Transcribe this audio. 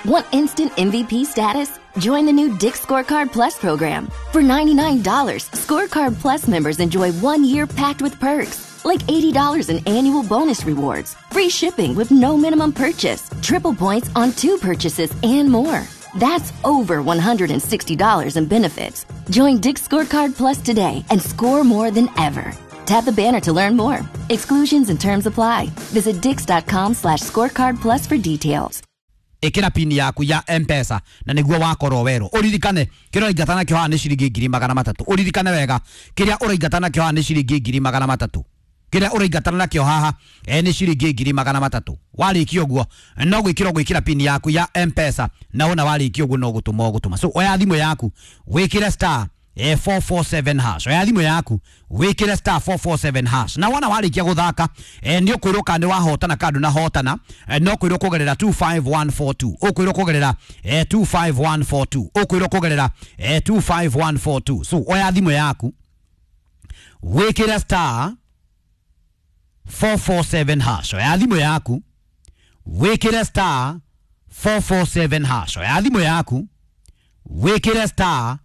Want instant MVP status? Join the new Dick's Scorecard Plus program. For $99, Scorecard Plus members enjoy 1 year packed with perks, like $80 in annual bonus rewards, free shipping with no minimum purchase, triple points on two purchases, and more. That's over $160 in benefits. Join Dick's Scorecard Plus today and score more than ever. Tap the banner to learn more. Exclusions and terms apply. Visit dix.com/scorecard plus for details. Ikira pini yaku ya Mpesa na niguo wakorwo werwo. Uririkane kiria uraingata nakio haha ni ciringi 300,000. Uririkane wega, kiria uraingata nakio haha ni ciringi 300,000. Kiria uraingatana nakio haha ni ciringi 300,000. Warikia uguo no gwikira gwikira pini yaku ya Mpesa, na wona warikia uguo no gutuma ugutuma. So oya thimu yaku wikire star 447 hash. Oya thimu yaku wikire star 447 hash, na wona warikia guthaka ni ukwirwo kana ni wahotana kana ndunahotana. No kwirwo kugerera 25142, ukwirwo kugerera 25142, ukwirwo kugerera 25142. So oya thimu yaku wikire star 447 hash. Oya thimu yaku wikire star 447 hash. Oya thimu yaku wikire star